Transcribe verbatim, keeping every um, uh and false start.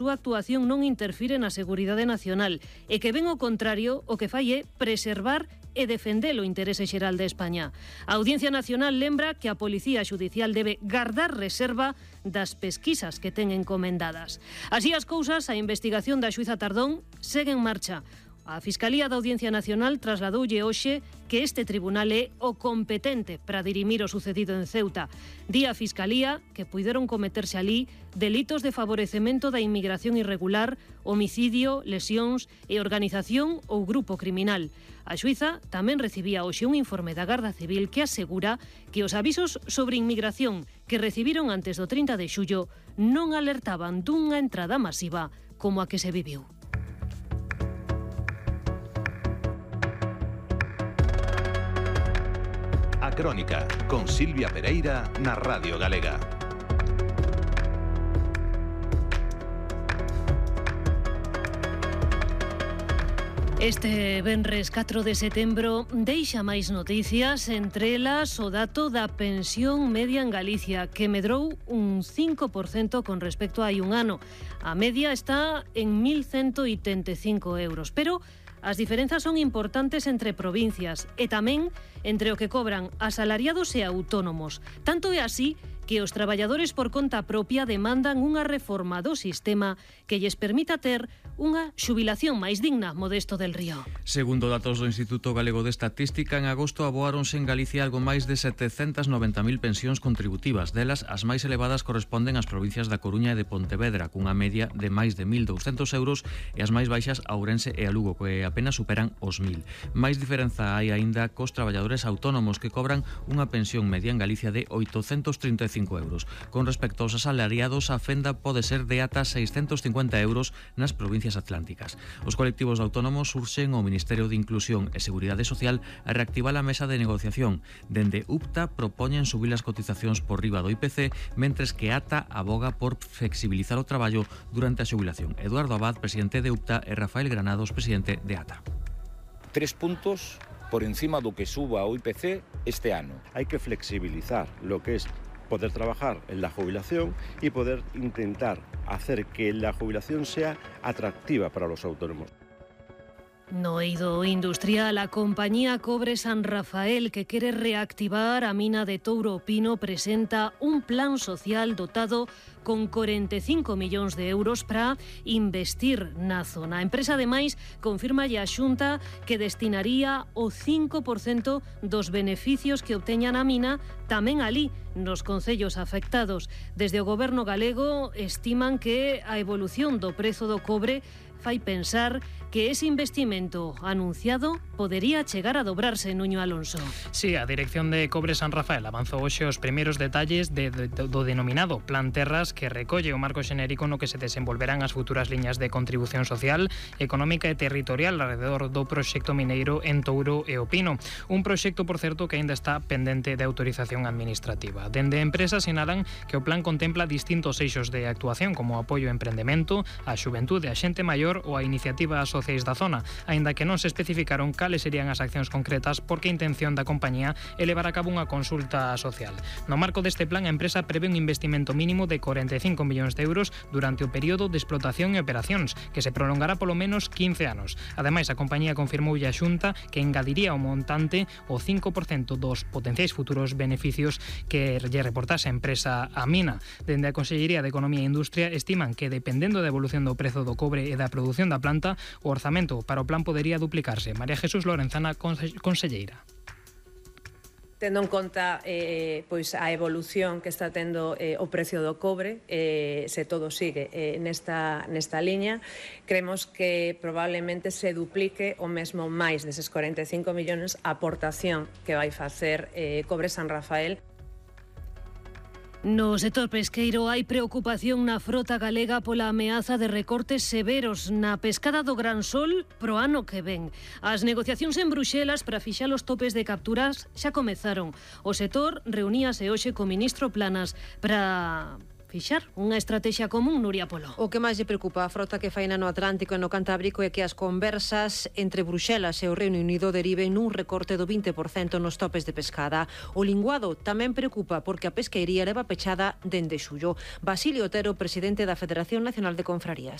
súa actuación non interfire na seguridade nacional e que ben ao contrario o que fai é preservar e defender o interese xeral de España. A Audiencia Nacional lembra que a Policía Xudicial debe guardar reserva das pesquisas que ten encomendadas. Así as cousas, a investigación da xuíza Tardón segue en marcha. A Fiscalía da Audiencia Nacional trasladoulle hoxe que este tribunal é o competente para dirimir o sucedido en Ceuta. Di a Fiscalía que puideron cometerse alí delitos de favorecemento da inmigración irregular, homicidio, lesións e organización ou grupo criminal. A xuíza tamén recibía hoxe un informe da Garda Civil que asegura que os avisos sobre inmigración que recibiron antes do trinta de xullo non alertaban dunha entrada masiva como a que se viviu. A Crónica, con Silvia Pereira na Radio Galega. Este venres catro de setembro deixa máis noticias, entre elas o dato da pensión media en Galicia, que medrou un cinco por cento con respecto a hai un ano. A media está en mil ciento oitenta e cinco euros, pero as diferenzas son importantes entre provincias e tamén entre o que cobran asalariados e autónomos. Tanto é así que os traballadores por conta propia demandan unha reforma do sistema que lles permita ter unha xubilación máis digna. Modesto del Río. Segundo datos do Instituto Galego de Estatística, en agosto aboáronse en Galicia algo máis de setecentas noventa mil pensións contributivas. Delas, as máis elevadas corresponden ás provincias da Coruña e de Pontevedra, cunha media de máis de mil douscentos euros, e as máis baixas a Ourense e a Lugo, que apenas superan os mil. Máis diferenza hai aínda cos traballadores autónomos, que cobran unha pensión media en Galicia de oitocentos trinta e cinco euros. Con respecto aos asalariados, a fenda pode ser de ata seiscentos cincuenta euros nas provincias atlánticas. Os colectivos autónomos urxen ao Ministerio de Inclusión e Seguridade Social a reactivar a mesa de negociación. Dende U P T A propoñen subir as cotizacións por riba do I P C, mentres que A T A aboga por flexibilizar o traballo durante a xubilación. Eduardo Abad, presidente de U P T A, e Rafael Granados, presidente de A T A. Tres puntos por encima do que suba o I P C este ano. Hay que flexibilizar lo que es poder trabajar en la jubilación y poder intentar hacer que la jubilación sea atractiva para los autónomos. No eido industrial, a compañía Cobre San Rafael, que quere reactivar a mina de Touro Pino, presenta un plan social dotado con corenta e cinco millóns de euros para investir na zona. A empresa, ademais, confirma a Xunta que destinaría o cinco por cento dos beneficios que obteñan a mina tamén alí, nos concellos afectados. Desde o goberno galego estiman que a evolución do prezo do cobre fai pensar que ese investimento anunciado podería chegar a dobrarse, Nuño Alonso. Sí, a dirección de Cobre San Rafael avanzou hoxe os primeiros detalles de, de, do denominado Plan Terras, que recolle o marco xenérico no que se desenvolverán as futuras liñas de contribución social, económica e territorial alrededor do proxecto mineiro en Touro e o Pino. Un proxecto, por certo, que aínda está pendente de autorización administrativa. Dende a empresa sinalan que o plan contempla distintos eixos de actuación, como o apoio ao emprendemento, a xuventude, a xente maior ou a iniciativas sociais da zona, aínda que non se especificaron cales serían as accións concretas, porque a intención da compañía é levar a cabo unha consulta social. No marco deste plan, a empresa prevé un investimento mínimo de corenta e cinco millóns de euros durante o período de explotación e operacións, que se prolongará polo menos quince anos. Ademais, a compañía confirmou a Xunta que engadiría ao montante o cinco por cento dos potenciais futuros beneficios que lle reportase a empresa a mina. Dende a Consellería de Economía e Industria estiman que, dependendo da evolución do prezo do cobre e da produción da planta, o orzamento para o plan podería duplicarse. María Jesús Lorenzana, conselleira. Tendo en conta eh, pois a evolución que está tendo eh, o precio do cobre, eh, se todo sigue eh, nesta, nesta liña, creemos que probablemente se duplique o mesmo máis deses corenta e cinco millóns a aportación que vai facer eh, Cobre San Rafael. No sector pesqueiro hai preocupación na frota galega pola ameaza de recortes severos na pescada do Gran Sol pro ano que ven. As negociacións en Bruxelas para fixar os topes de capturas xa comezaron. O sector reuníase hoxe co ministro Planas para fixar unha estrategia común, Nuria Polo. O que máis lle preocupa a frota que faina no Atlántico e no Cantábrico é que as conversas entre Bruxelas e o Reino Unido deriven nun recorte do vinte por cento nos topes de pescada. O linguado tamén preocupa porque a pesqueiría leva pechada dende xullo. Basilio Otero, presidente da Federación Nacional de Confrarías.